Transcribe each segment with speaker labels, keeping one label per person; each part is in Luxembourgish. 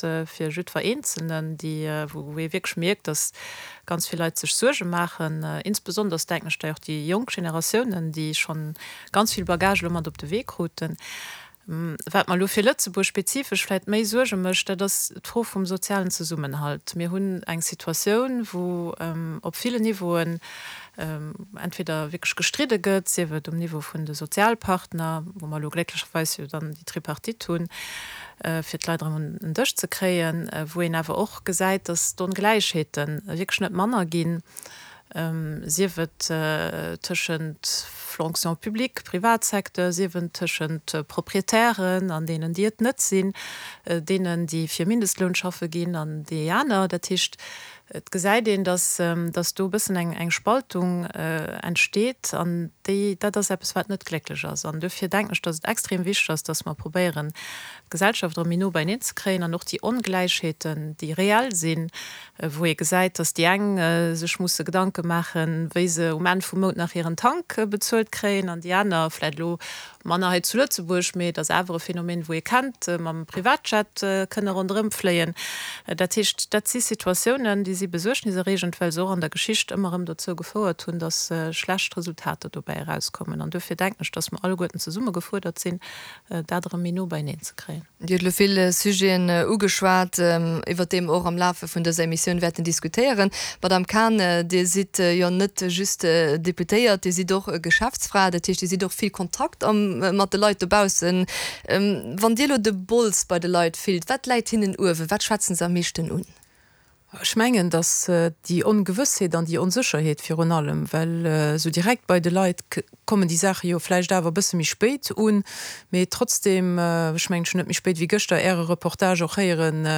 Speaker 1: fir jiddwer Eenzelnen, déi, wou ee wierklech mierkt, datt ganz vill Leit sech Suerge maachen, insbesonders denken ech dei och déi jonk Generatiounen, déi schonn ganz vill Bagage elo mat op de Wee kruten. Wat mer elo fir Lëtzebuerg spezifesch vläicht méi Suerge mécht, dat ass d'Fro vum sozialen Zesummenhalt. Mir hunn eng Situatioun, wou op villen Niveauen entweder wierklech gestridde gëtt, sief et um Niveau vun de Sozialpartner, wou mer elo glécklecherweis jo dann déi Tripartite hunn, fir d'Leit erëm un en Dësch ze kréien, wou een awer och gesäit, datt d'Ongläichheete wierklech net manner ginn. sief et tëschent Fonction publique, Privatsecteur, sief et tëschent Proprietären an deenen, déi et net sinn, deenen, déi fir Mindestloun schaffe ginn an déi aner. Dat heescht, et gesäit een, datt, datt do e bëssen eng, eng Spaltung entsteet an déi, dat ass eppes, wat net glécklech ass. An duerfir denken ech, datt et extrem wichteg ass, datt mer probéieren, d'Gesellschaft erëm méi no beieneen ze kréien an och déi Ongläichheeten, déi reell sinn, wou ee gesäit, datt déi eng sech musse Gedanke maachen, wéi se um Enn vum Mount nach hiren Tank bezuelt kréien an déi aner, vläicht elo manner hei zu Lëtzebuerg, mee et ass awer e Phänomen, wou ee kennt, mam Privatjet kënne ronderëm fléien. Dat heescht, dat si Situatiounen, déi si besuergniserreegend, well se och an der Geschicht ëmmer erëm dozou gefouert hunn, datt schlecht Resultater dobäi erauskommen. An duerfir denken ech, datt mer alleguerten zesumme gefuerdert sinn, dat erëm méi no beieneen ze kréien.
Speaker 2: Dir hutt elo vill Sujeten ugeschwat, iwwert déi mer och am Lafe vun dëser Emissioun wäerten diskutéieren. Madamm Cahen, Dir sidd jo net just Deputéiert, Dir sidd och Geschäftsfra, dat heescht, Dir sidd och vill Kontakt mat de Leit dobaussen. Wann Dir elo de Bols bei de Leit fillt, wat läit hinnen uewen, wat schwätzen se am meeschten un?
Speaker 3: Ech mengen, datt déi Ongewëssheet an déi Onsécherheet virun allem, well esou direkt bei de Leit kommen déi Saache jo vläicht awer e bësse méi spéit un, mee trotzdem, ech mengen, ech hunn net méi spéit wéi gëschter Äre Reportage och héieren,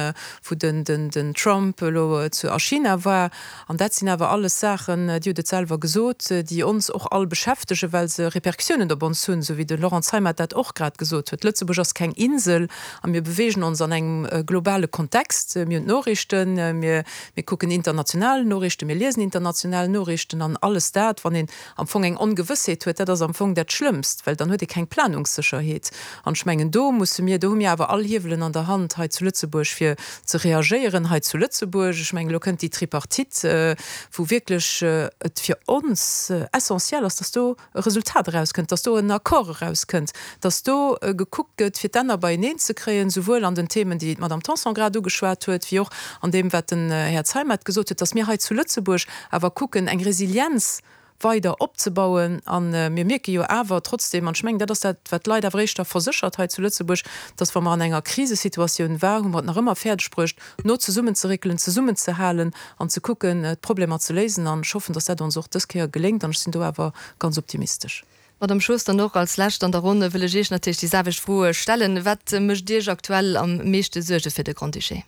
Speaker 3: wou den Trump elo zu a China war. An dat sinn awer alles Saachen, Dir hutt et selwer gesot, déi ons och all beschäftegen, well se Répercussiounen op ons hunn, esou wéi de Laurent Zeimet dat och grad gesot huet. Lëtzebuerg ass keng Insel. A mir beweegen ons an engem globale Kontext. Mir hunn d'Noriichten, mir, mir kucken international Noriichten, mir liesen international Noriichten an alles dat. Wann een am Fong eng Ongewëssheet huet, dat ass am Fong dat Schlëmmst, well dann huet ee keng Planungssécherheet. An ech mengen, do musse mir, do hu mir awer all Hiewelen an der Hand hei zu Lëtzebuerg, fir ze reagéieren hei zu Lëtzebuerg. Ech mengen, elo kënnt déi Tripartite, wou wierklech et fir ons essentiel ass, dass do, e Resultat erauskënnt, dass do en Accord erauskënnt, dass do gekuckt gëtt, fir d'Enner beieneen ze kréien, souwuel an den Themen, déi d'Madame Tanson grad ugeschwat huet, wéi och an deem, wat den Här Zeimet gesot huet, dass mir hei zu Lëtzebuerg awer kucken, eng Resilienz weider opzebauen. A mir mierke jo awer trotzdem, an ech mengen, dat ass dat, wat d'Leit awer éischter verséchert hei zu Lëtzebuerg, dass, wa mer an enger Krisesituatioun war, hu mer et nach ëmmer fäerdegbruecht, no zesummenzerréckelen, zesummenzehalen an ze kucken, d'Problemer ze léisen. An ech hoffen, dass dat ons och dës Kéier geléngt. An ech sinn do awer ganz optimistesch.
Speaker 2: Madamm Schoos, dann och als Lescht an der Ronn wëll ech Iech natierlech déi selwecht Froe stellen. Wat mécht Iech aktuell am meeschte Suerge fir de Grand-Duché?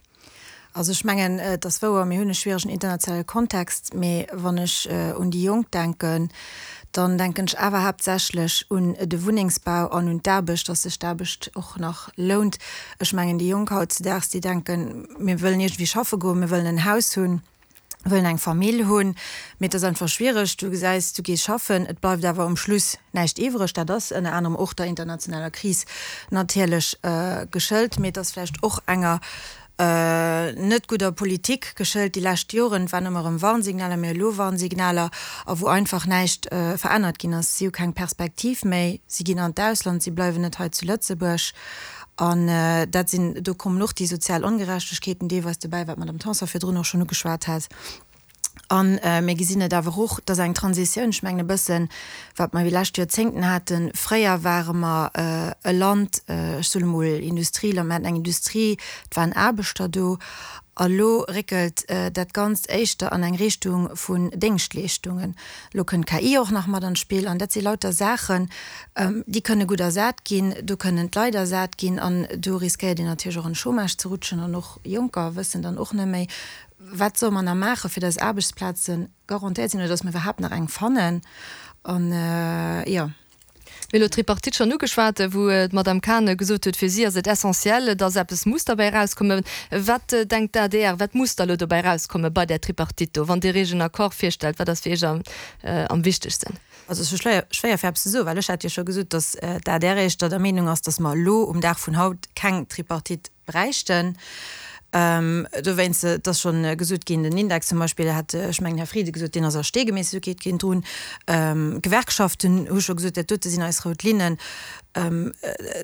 Speaker 4: Also ech mengen, et ass wouer, mir hunn e schwieregen internationale Kontext. Mee wann ech un déi Jonk denken, dann denken ech awer haaptsächlech un de Wunnengsbau an un d'Aarbecht, dass sech d'Aarbecht och nach lount. Ech mengen, déi Jonk hautzedaags, déi denken, mir wëllen iergendwéi schaffe goen, mir wëllen en Haus hunn, wëllen eng Famill hunn, mee et ass einfach schwiereg. Du gesäis, du gees schaffen, et bleift awer um Schluss näischt iwwreg. Dat ass ënner anerem och der internationaler Kris natierlech geschëlt, mee et ass vläicht och enger net gudder Politik geschëlt déi lescht Joren. Et waren ëmmer erëm Warnsignaler, mee elo Warnsignaler, a wou einfach näischt verännert ginn ass. Si hu keng Perspektiv méi, si ginn an d'Ausland, si bleiwen net hei zu Lëtzebuerg. An dat sinn, do kommen och déi sozial Ongerechtegkeeten deelweis dobäi, wat d'Madame Tanson virdrun och schonn ugeschwat hat. A mir gesinn et awer och, dass eng Transitioun, ech mengen e bëssen, wat mer déi lescht Joerzéngten haten, fréier ware mer e Land, ech soen emol Industrieland, mir haten eng Industrie, et waren Aarbechter do, a lo réckelt dat Ganzt éischter an eng Richtung vun Déngschtleeschtungen. Elo kënnt d'KI och nach mat an d'Spill an dat si lauter Saachen, déi kënne gutt ersat ginn, do kënnen d'Leit ersat ginn an do riskéiert een natierlech och an de Chômage ze rutschen an och Jonker wëssen dann och net méi, Wat solle mer nach maachen, fir dass Aarbechtsplaze garantéiert sinn oder dass mer iwwerhaapt nach eng fannen? An, jo.
Speaker 2: Mir hu elo d'Tripartite schonn ugeschwat, wou d'Madame Cahen gesot huet, fir si ass et essentiel, dass eppes muss derbäi erauskommen. Wat denkt d'ADR, wat muss da elo dobäi erauskomme bei där Tripartite do, wann Dir Iech en Accord virstellt? Wat ass fir Iech am wichtegsten?
Speaker 4: Also et ass schwéier fir eppes ze soen, well ech hat jo scho gesot, dass d'ADR éischter der Meenung ass, dass mer elo um Dag vun haut keng Tripartite bräichten. Dowéinst, et ass schonn gesot ginn, den Index zum Beispill, hat, ech mengen, Här Frieden gesot, deen ass a Stee gemeesselt, do geet keen drun. D'Gewerkschaften hu scho gesot, dat dote sinn eis rout Linnen.